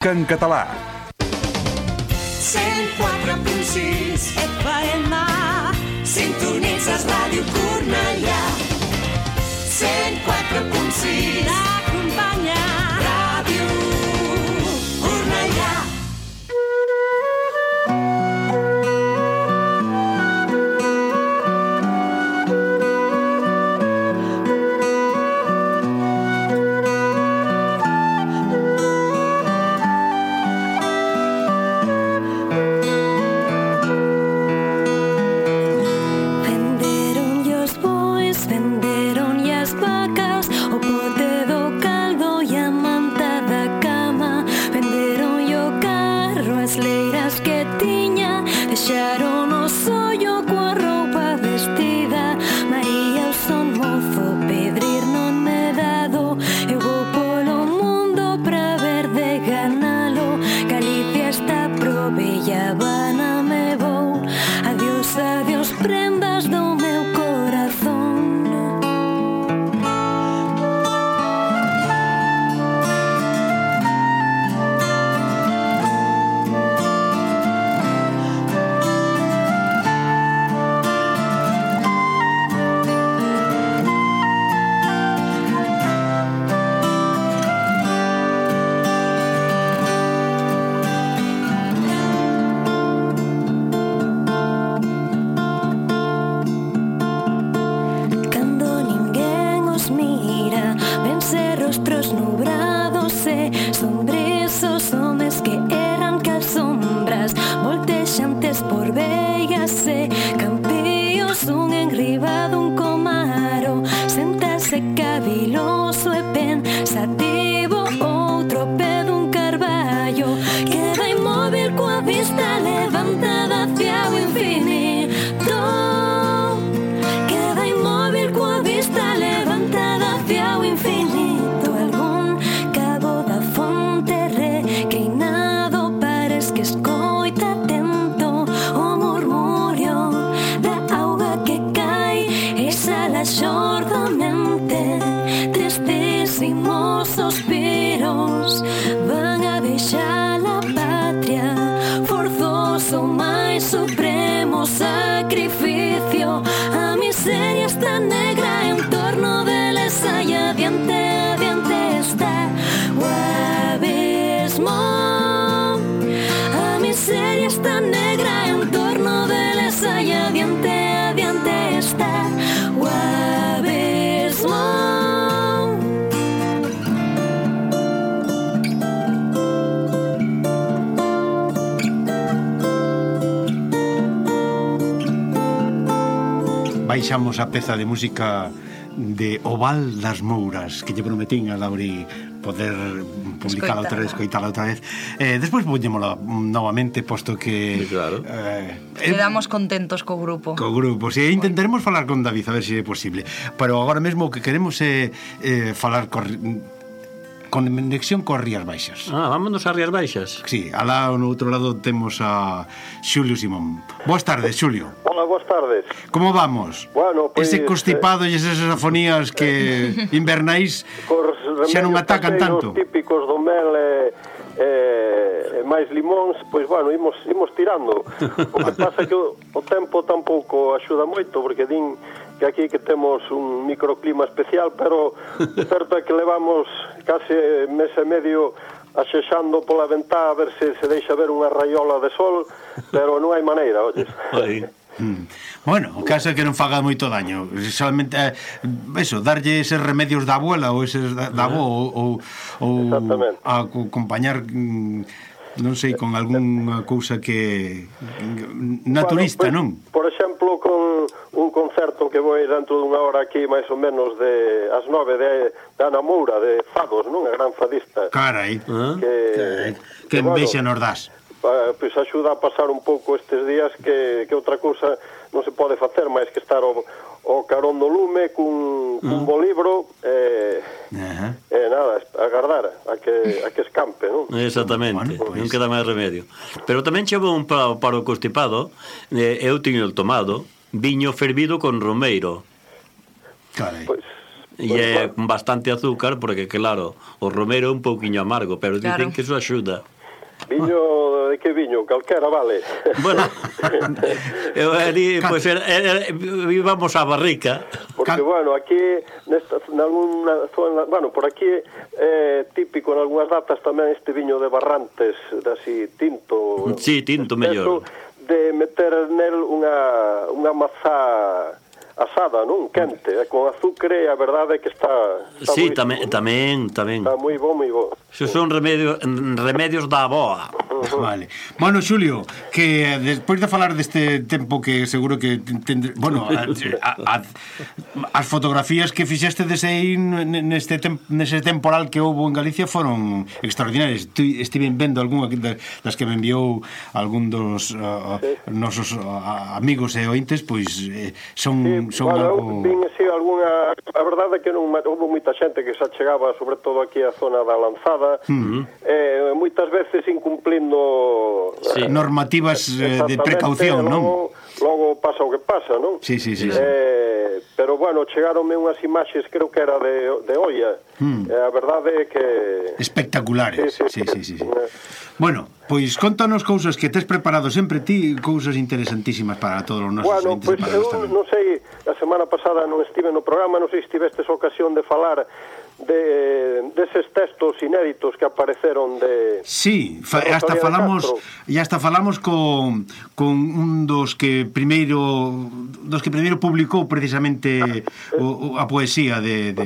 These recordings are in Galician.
En català. 104.6 FM. Sintonitzes Ràdio Cornellà. 104.6 t'acompanya. Ràdio Cornellà. Baixamos a peza de música de O Val das Mouras, que lle prometín a Lauri poder publicala outra vez, escoitala outra vez. Despois poñémola novamente, posto que... Claro. Quedamos contentos co grupo. Co grupo, si intentaremos falar con David, a ver se é posible. Pero agora mesmo o que queremos é falar con conexión coas Rías Baixas. Vámonos ás Rías Baixas. Sí, alá no outro lado temos a Xulio Simón. Boas tardes, Xulio. Hola, boas tardes. Como vamos? Bueno, pois... Ese constipado e esas afonías que invernais xa non atacan tanto. Os típicos do mel e máis limóns, pois, bueno, imos tirando. O que pasa é que o tempo tampouco axuda moito, porque din que aquí que temos un microclima especial, pero certo é que levamos case mes e medio axexando pola ventá a ver se deixa ver unha raiola de sol, pero non hai maneira, olles. Bueno, o caso é que non faga moito daño. Solamente eso, darlle eses remedios da abuela ou eses da avó ou acompañar, non sei, con algunha cousa que naturista, bueno, non? Por exemplo, con un concerto que vou dentro dunha hora aquí, máis ou menos de as 9 de Ana Moura, de Fados, non? A gran fadista. Carai, que envexa nos das. Pois axuda a pasar un pouco estes días que outra cousa non se pode facer máis que estar o carón do lume cun bo libro e nada, agardar a que escampe, non? Exactamente, bueno, pues... non queda máis remedio. Pero tamén chegou un para o constipado, eu tiño el tomado viño fervido con romeiro. Carai. Pois E é con bastante azúcar, porque claro, o romero é un pouquiño amargo, pero dicen Claro. que eso axuda. Viño, de que viño? Calquera, vale. Bueno, eu ali, pois, íbamos á barrica. Porque, bueno, aquí, nalgúna zona, bueno, por aquí é típico en algunhas datas tamén este viño de Barrantes, de así, tinto. Sí, tinto, mellor. De meter nel unha mazá asada, non? Quente, con azúcar, e a verdade é que está Sí, moi, tamén. Está moi bo, moi bo. Xo son remedios da aboa. Vale. Bueno, Xulio, que despois de falar deste tempo que seguro que bueno, as fotografías que fixeste neste temporal que houve en Galicia foron extraordinarias. Estive vendo algunha das que me enviou algún dos nosos amigos e ointes, pois son algo... Vin así algunha... A verdade é que non houve moita xente que se achegaba, sobre todo aquí a zona da Lanzada, moitas veces incumplindo normativas de precaución, non? Logo pasa o que pasa, non? Sí. Pero, bueno, chegaronme unhas imaxes, creo que era de olla. A verdade é que... Espectaculares. Sí. Bueno, pois contanos cousas que tes preparado sempre ti, cousas interesantísimas para todos os nosos ouvintes. Bueno, pois eu non sei, a semana pasada non estive no programa, non sei se tivestes ocasión de falar deses textos inéditos que apareceron de... Sí, hasta falamos con un dos que primeiro publicou precisamente a poesía de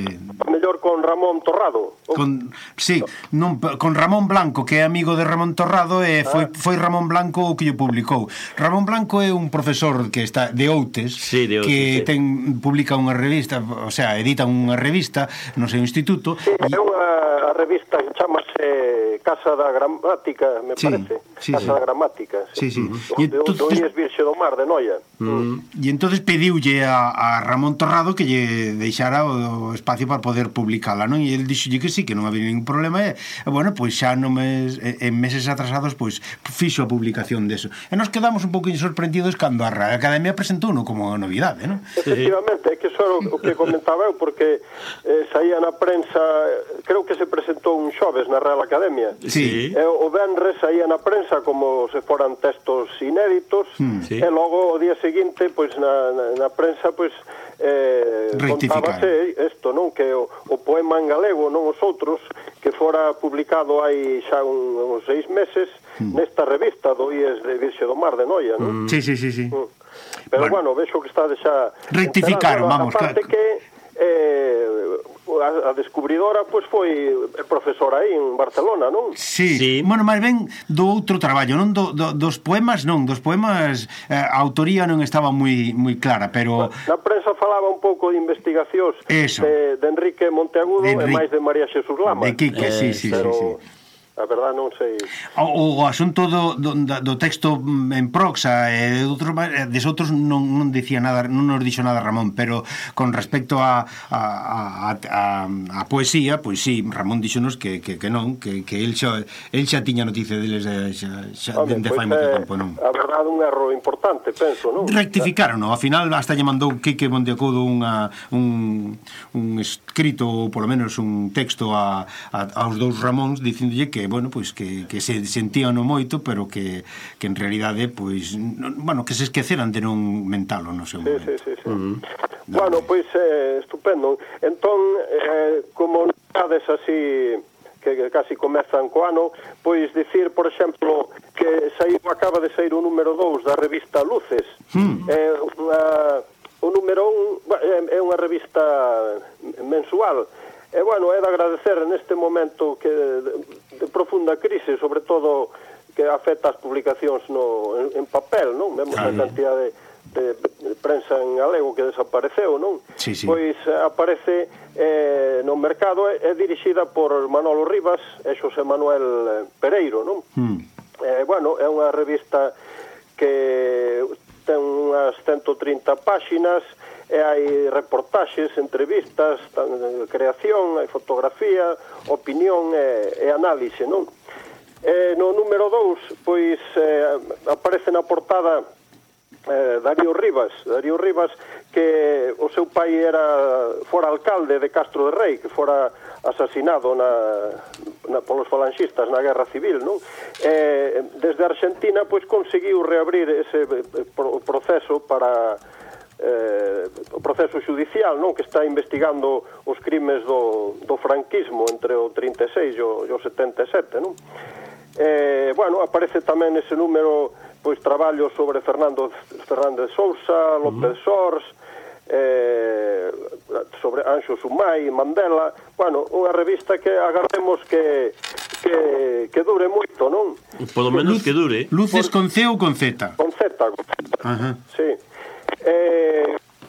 mellor con Ramón Torrado. Con Ramón Blanco, que é amigo de Ramón Torrado, e foi Ramón Blanco o que lle publicou. Ramón Blanco é un profesor que está de Outes, que publica unha revista, o sea, edita unha revista no seu instituto. Sí, é unha revista que chamase Casa da Gramática, me parece. Casa da Gramática. Sí. Do IES Virxe do Mar, de Noia. E entonces pediulle a Ramón Torrado que lle deixara o espacio para poder publicala, non? E ele dixolle que sí, que non había ningún problema, e bueno, pois xa en meses atrasados, pois fixo a publicación deso. E nos quedamos un pouco sorprendidos cando a Academia presentouno como novidade, non? Efectivamente, é que iso era o que comentaba eu, porque saía na prensa, creo que se presentou un xoves na Real Academia. Sí. O venres saía na prensa como se foran textos inéditos, e logo o día seguinte, pois na prensa, pois contábase isto, non? Que o poema en galego, non os outros, que fora publicado hai xa uns 6 meses nesta revista do IES de Virxe do Mar de Noia, non? Sí. Pero bueno, vexo que está xa... Rectificaron, vamos. Aparte que a descubridora pois foi profesora aí en Barcelona, non? Sí. Bueno, máis ben do outro traballo, non dos poemas, a autoría non estaba moi clara, pero na prensa falaba un pouco de investigacións de Enrique Monteagudo e máis de María Xesús Lama. De Quique, sí. A verdade non sei. O asunto do texto en proxa e desotros non dicía nada, non nos dixo nada Ramón, pero con respecto a poesía, pois sí, Ramón díxonos que non, que el xa tiña noticia deles dende fai moito tempo, non? A verdade un erro importante, penso, non? Rectificaron, ao final hasta lle mandou Quique Monteagudo un escrito, ou polo menos un texto aos dous Ramóns dicindolle que bueno, pois que se sentían moito, pero que en realidade, pois, bueno, que se esqueceran de non mentalo no seu momento. Sí. Bueno, pois, estupendo. Entón, como nades así que casi comezan co ano, pois dicir, por exemplo, que acaba de sair o número 2 da revista Luces. O número 1 é unha revista mensual. E, bueno, é de agradecer neste momento que de profunda crise, sobre todo que afecta as publicacións en papel, non? Vemos a cantidade de prensa en galego que desapareceu, non? Sí. Pois aparece no mercado, é dirixida por Manolo Rivas e Xosé Manuel Pereiro, non? Bueno, é unha revista que ten unhas 130 páxinas, e hai reportaxes, entrevistas, creación, hai fotografía, opinión e análise, non? No número 2, pois, aparece na portada Darío Rivas, que o seu pai fora alcalde de Castro de Rei, que fora asasinado polos falanxistas na Guerra Civil, non? Desde Argentina, pois, conseguiu reabrir ese proceso para o proceso judicial, non? Que está investigando os crimes do franquismo entre o 36 e o 77, non? Bueno, aparece tamén ese número, pois, traballos sobre Fernández Sousa, López Sors, sobre Anxo Sumai, Mandela. Bueno, unha revista que agardemos que dure moito, non? Polo menos que dure. Luces con C ou con Z? Con Z. Ajá. Sí.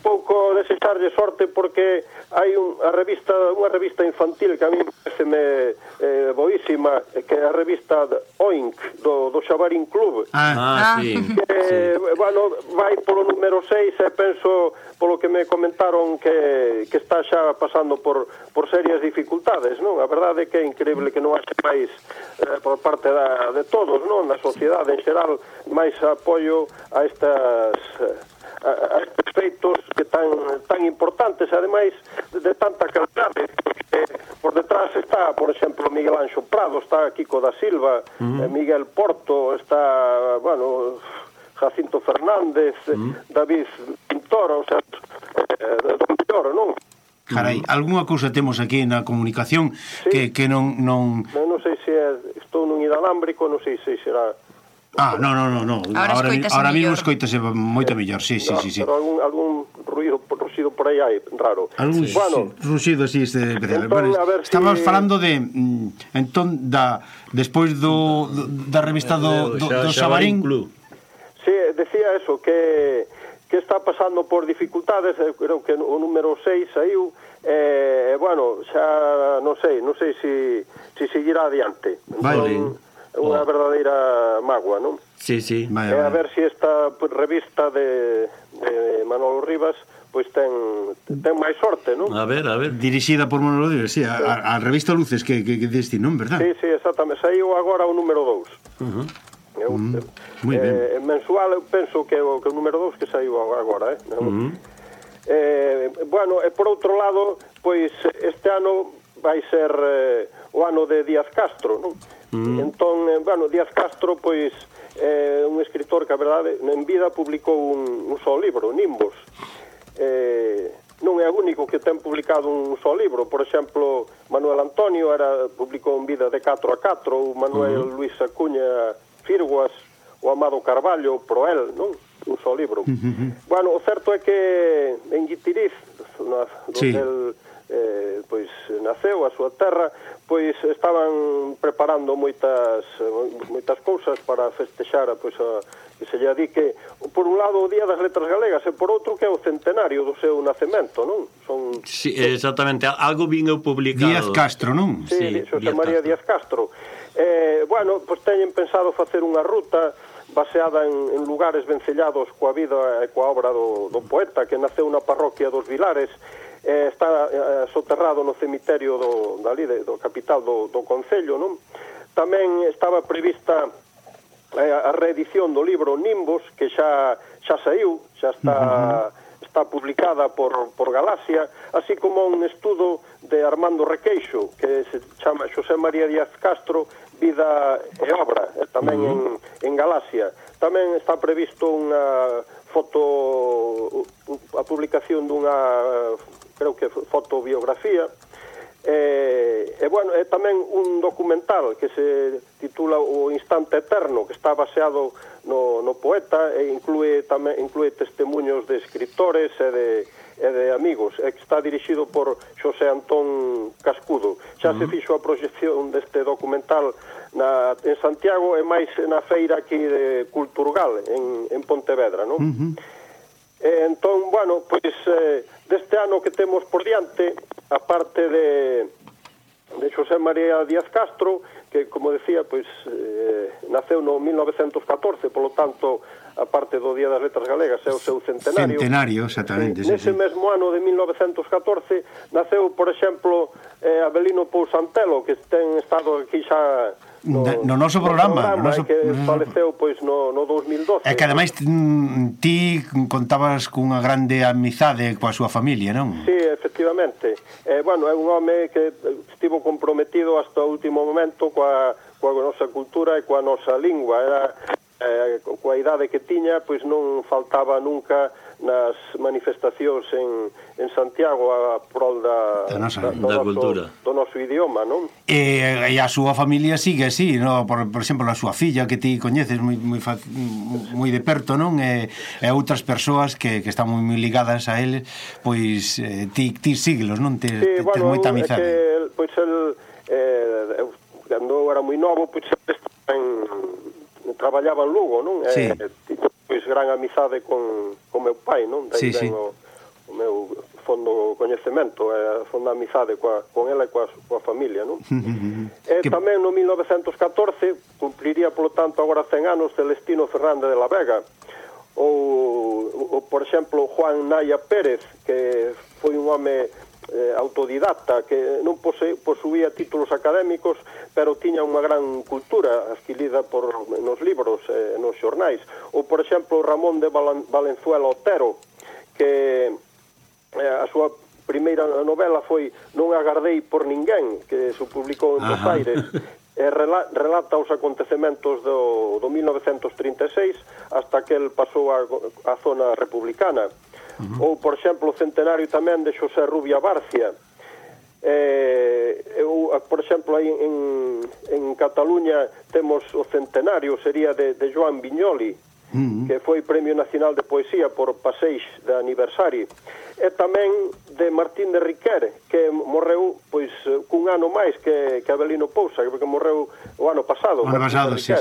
Pouco desecharlle sorte porque hai unha revista infantil que a mí pareceme boísima, que é a revista Oink do Xabarín Club. Sí. Bueno, vai polo número 6 e penso, polo que me comentaron, que está xa pasando por serias dificultades, non? A verdade é que é increíble que non haxe máis por parte de todos, non? Na sociedade en xeral, máis apoio a estes feitos que tan importantes, ademais de tanta calidade, porque por detrás está, por exemplo, Miguel Anxo Prado, está Kiko da Silva, Miguel Porto, está, bueno, Jacinto Fernández, David Pintor, o sea, do mellor, non? Carai, algunha cousa temos aquí na comunicación que non... Non sei se estou nun inalámbrico, non sei se será... No. Ahora mismo escoitase moito mellor, sí. Pero algún ruido por aí hai, raro. Algún ruxido así especial. Bueno, estamos falando de entón despois da revista do Xabarín Club. Sí, decía eso, que está pasando por dificultades, creo que o número 6 saiu, bueno, xa non sei se seguirá adiante. Vale. Unha verdadeira mágoa, non? Sí. A ver se esta revista de Manolo Rivas pois ten máis sorte, non? A ver. Dirixida por Manolo Rivas, sí, a revista Luces que deste, non, verdad? Sí, exactamente. Saiu agora o número 2. Moi ben. Mensual, eu penso que o número 2 que saiu agora, Bueno, e por outro lado, pois este ano vai ser o ano de Díaz Castro, non? Entón, bueno, Díaz Castro, pois, é un escritor que, a verdade, en vida publicou un só libro, Nimbos. Non é o único que ten publicado un só libro. Por exemplo, Manuel Antonio publicou en vida de 4 a 4, o Manuel Luis Acuña Firguas, o Amado Carballo, Proel, non? Un só libro. Bueno, o certo é que en Guitiriz, donde pois naceu a súa terra, pois estaban preparando moitas cousas para festexar pois que se lle adique por un lado o Día das Letras Galegas e por outro que é o centenario do seu nacemento, non? Sí, exactamente, algo vin eu publicado. Díaz Castro, non? Sí, Xosé María Díaz Castro. Bueno, pois teñen pensado facer unha ruta baseada en lugares vencellados coa vida e coa obra do poeta, que naceu na parroquia dos Vilares. Está soterrado no cemiterio do capital do Concello, non? Tamén estaba prevista a reedición do libro Nimbos, que xa saiu, xa está publicada por Galaxia, así como un estudo de Armando Requeixo, que se chama Xosé María Díaz Castro, Vida e Obra, tamén en Galaxia. Tamén está previsto a publicación dunha, creo que fotobiografía, bueno, é tamén un documental que se titula O Instante Eterno, que está baseado no poeta e inclúe testemunhos de escritores e de amigos, e que está dirixido por Xosé Antón Cascudo. Xa se fixo a proxección deste documental en Santiago e máis na feira aquí de Culturgal en Pontevedra, non? Entón, bueno, pois deste ano que temos por diante, a parte de Xosé María Díaz Castro, que, como decía, pois naceu no 1914, polo tanto, a parte do Día das Letras Galegas é o seu centenario. Centenario, exactamente. Nese mesmo ano de 1914 naceu, por exemplo, Abelino Pousantelo, que ten estado aquí xa no noso programa, que faleceu pois no 2012. É que ademais ti contabas cunha grande amizade coa súa familia, non? Sí, efectivamente. Bueno, é un home que estivo comprometido hasta o último momento coa nosa cultura e coa nosa lingua. Era coa idade que tiña, pois non faltaba nunca nas manifestacións en Santiago a prol da cultura, do noso idioma, non? E a súa familia sigue así, no? Por exemplo, a súa filla que ti coñeces moi de perto, non? E outras persoas que están moi ligadas a ele, pois ti síguelos, non? Tes moita amizade. Pois el cando eu era moi novo, pois traballaba en Lugo, non? Sí. Pois gran amizade con meu pai, non? Daí sí. O meu fondo coñecemento, a fonda amizade con ela e coa familia, non? Tamén no 1914 cumpliría, polo tanto, agora 100 anos Celestino Fernández de la Vega, ou por exemplo, Juan Naya Pérez, que foi un home autodidacta, que non posuía títulos académicos, pero tiña unha gran cultura adquirida nos libros, nos xornais. Ou, por exemplo, Ramón de Valenzuela Otero, que a súa primeira novela foi Non agardei por ninguén, que se publicou en Buenos Aires, relata os acontecementos do 1936 hasta que el pasou a zona republicana. Ou, por exemplo, o centenario tamén de Xosé Rubia Barcia. Por exemplo, aí en Cataluña temos o centenario, sería de Joan Viñoli, que foi Premio Nacional de Poesía por Passeis de aniversario. E tamén de Martín de Riquer, que morreu pois cun ano máis que Avelino Pousa, que morreu o ano pasado. O ano pasado, sí.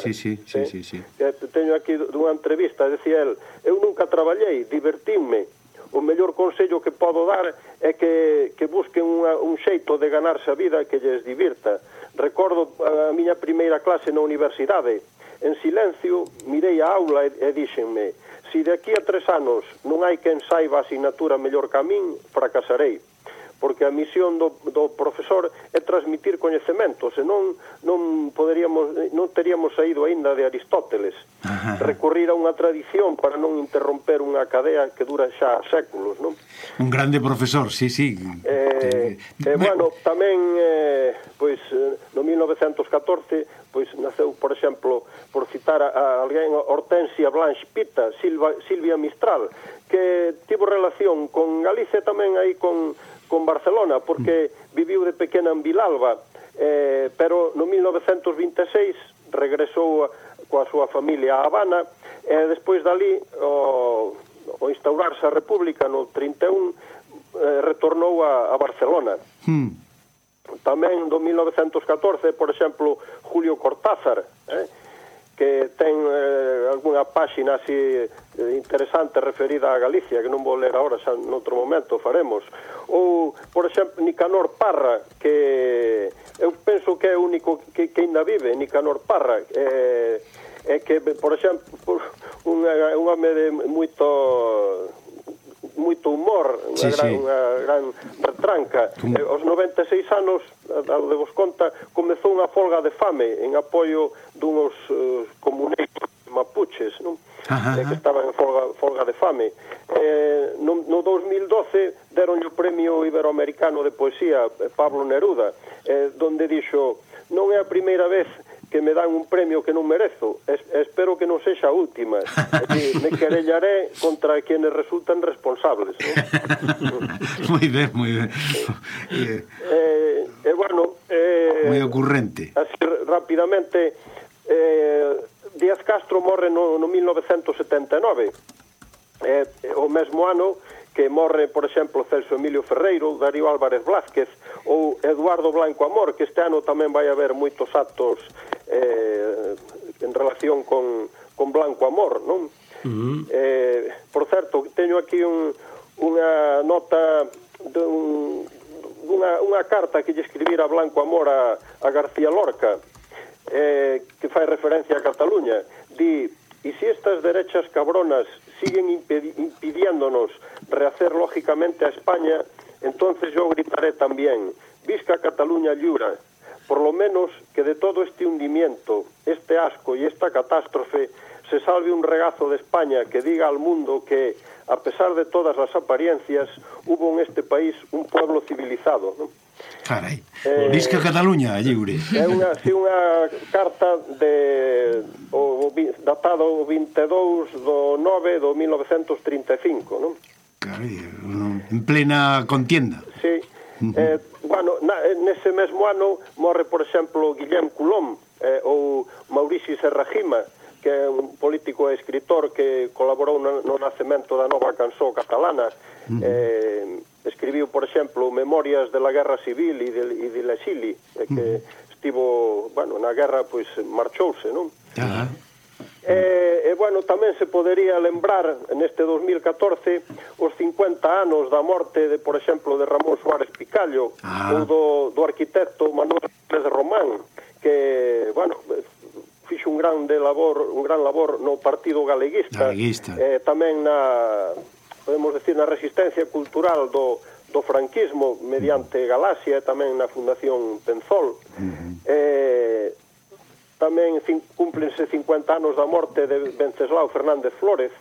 Teño aquí dunha entrevista, decía el: eu nunca traballei, divertínme. O mellor consello que podo dar é que busquen un xeito de ganarse a vida que lles divirta. Recordo a miña primeira clase na universidade. En silencio mirei a aula e díxenme: si de aquí a 3 anos non hai quen saiba a asignatura mellor que a min, fracasarei. Porque a misión do profesor é transmitir coñecementos, senón non teríamos saído aínda de Aristóteles. Recurrir a unha tradición para non interromper unha cadea que dura xa séculos, non? Un grande profesor, sí. Bueno, tamén pois no 1914 pois naceu, por exemplo, por citar a alguén, Hortensia Blanche Pita, Silvia Mistral, que tivo relación con Galicia tamén aí con Barcelona, porque viviu de pequena en Vilalba, pero no 1926 regresou coa súa familia a Habana, e despois dali, o instaurarse a República no 31, retornou a Barcelona. Tamén do 1914, por exemplo, Julio Cortázar, que ten algunha páxina así interesante referida a Galicia, que non vou ler agora, xa noutro momento faremos. Ou, por exemplo, Nicanor Parra, que eu penso que é o único que ainda vive, Nicanor Parra, é que, por exemplo, un home de moito humor, unha gran retranca. Aos 96 anos, ao de vos conta, comezou unha folga de fame en apoio dunos comuneiros mapuches, non? Que estaban en folga de fame. No 2012 deronlle o Premio Iberoamericano de Poesía Pablo Neruda, donde dixo: non é a primeira vez que me dan un premio que non merezo, espero que non sexa a última. Me querellaré contra quienes resultan responsables, ¿no? Moi ben. Bueno, moi ocurrente. Así rapidamente, Díaz Castro morre no 1979, o mesmo ano que morre, por exemplo, Celso Emilio Ferreiro, Darío Álvarez Blázquez ou Eduardo Blanco Amor, que este ano tamén vai haber moitos actos en relación con Blanco Amor, non? Por certo, teño aquí unha nota unha carta que lle escribira Blanco Amor a García Lorca, que fai referencia a Cataluña. Di: y si estas derechas cabronas siguen impidiéndonos rehacer lógicamente a España, entonces yo gritaré también: Visca Cataluña lliure. Por lo menos que de todo este hundimiento mundo e esta catástrofe se salve un regazo de España que diga al mundo que, a pesar de todas las apariencias, hubo en este país un pueblo civilizado, ¿no? Carai, Visca Cataluña, lliure. É unha carta datado o 22 do 9 do 1935, non? Carai, en plena contienda. Sí. Bueno, nese mesmo ano morre, por exemplo, Guillem Colom ou Maurici Serrajima, que é un político e escritor que colaborou no nacemento da nova cançó catalana. Escribiu, por exemplo, Memorias de la Guerra Civil e de l'exili, que estivo, bueno, na guerra, pois, marchouse, non? Bueno, tamén se podería lembrar neste 2014 os 50 anos da morte de, por exemplo, de Ramón Suárez Picallo ou do arquitecto Manuel Pérez Román, que, bueno, fixo un gran labor no Partido Galeguista. Tamén podemos decir, na resistencia cultural do franquismo mediante Galaxia e tamén na Fundación Penzol. Tamén cúmplense 50 anos da morte de Venceslao Fernández Flórez,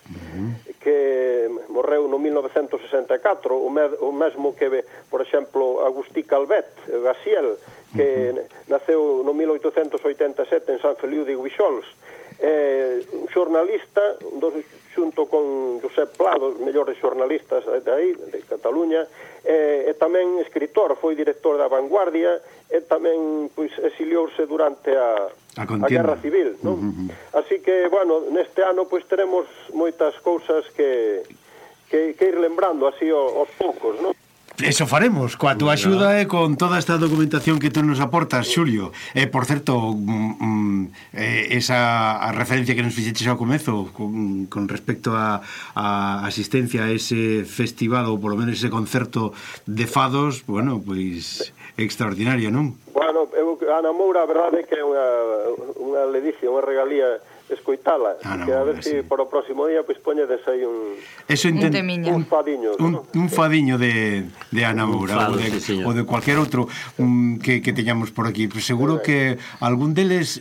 que morreu no 1964, o mesmo que, por exemplo, Agustí Calvet Gaciel, que naceu no 1887 en San Feliu de Guixols. Un xornalista, xunto con Josep Pla, dos mellores xornalistas de Cataluña, e tamén escritor, foi director da Vanguardia, e tamén exiliouse durante a Guerra Civil, non? Así que, bueno, neste ano teremos moitas cousas que ir lembrando así aos poucos, non? Eso faremos, coa túa axuda e con toda esta documentación que tú nos aportas, Xulio. Por certo, esa referencia que nos fixeches ao comezo con respecto a asistencia a ese festival ou polo menos ese concerto de fados, bueno, pois extraordinario, non? Bueno, Ana Moura, a verdade é que é unha ledicia, unha regalía escoitala, que a ver se para o próximo día poñedes aí un fadiño, un fadiño de Ana Moura ou de cualquier outro que teñamos por aquí. Pues seguro que algún deles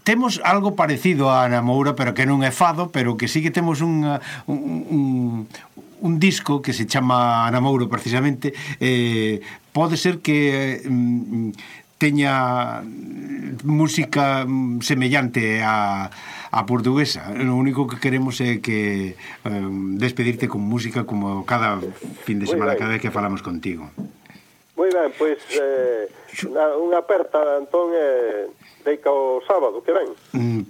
temos algo parecido a Ana Moura, pero que non é fado, pero que sí que temos un disco que se chama Ana Moura precisamente. Pode ser que teña música semellante a portuguesa. Lo único que queremos é que despedirte con música como cada fin de semana, cada vez que falamos contigo. Moi ben, pois unha aperta, Antón, deica o sábado que ven.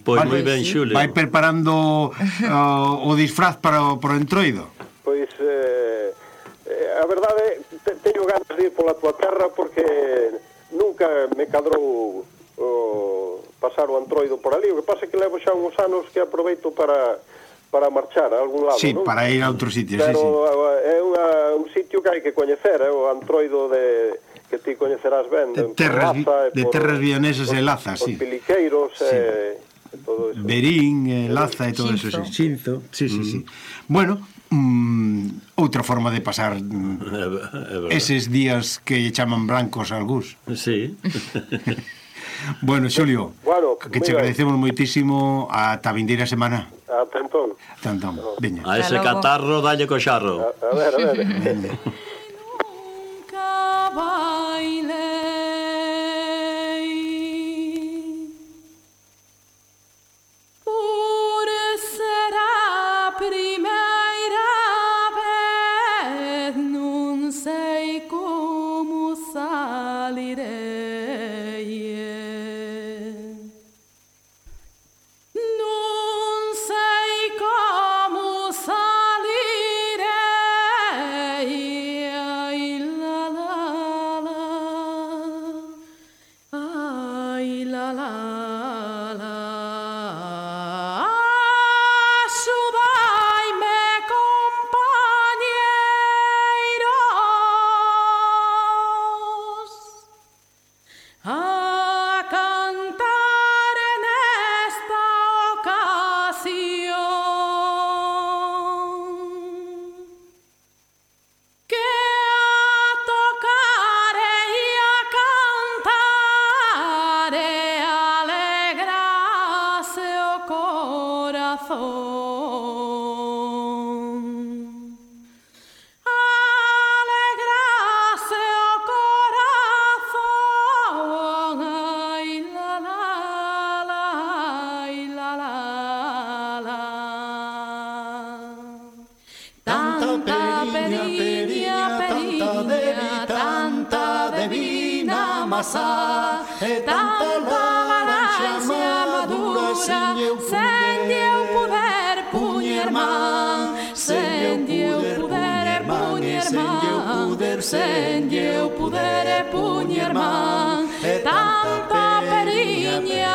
Pois moi ben, Xulio. Vai preparando o disfraz para o entroido? Pois a verdade teño ganas de ir pola tua terra porque nunca me cadrou pasar o antroido por ali. O que pasa é que levo xa uns anos que aproveito para marchar a algún lado, sí, non? Para ir a outro sitio, pero é un sitio que hai que coñecer, o antroido que ti coñecerás ben, de terras vianesas e Laza, sí. Os Piliqueiros e todo eso. Verín, Laza e todo eso, Xinzo. Sí. Bueno, outra forma de pasar eses días que chaman blancos algús. Sí. Bueno, Xulio, que che agradecemos moitísimo ata a vindeira semana. Ata entón. Veña. A ese catarro dalle co xarro. A ver. Nunca bailei por ser a primeira vez, non sei como salirei. corazón. Alegrase o corazón, ay la la la, ay la la la. Tanta periña, tanta divina masa, tanta laranxa madura, sen eu poder puñer man, sen eu poder puñer man, sen eu poder puñer man. Tanta periña,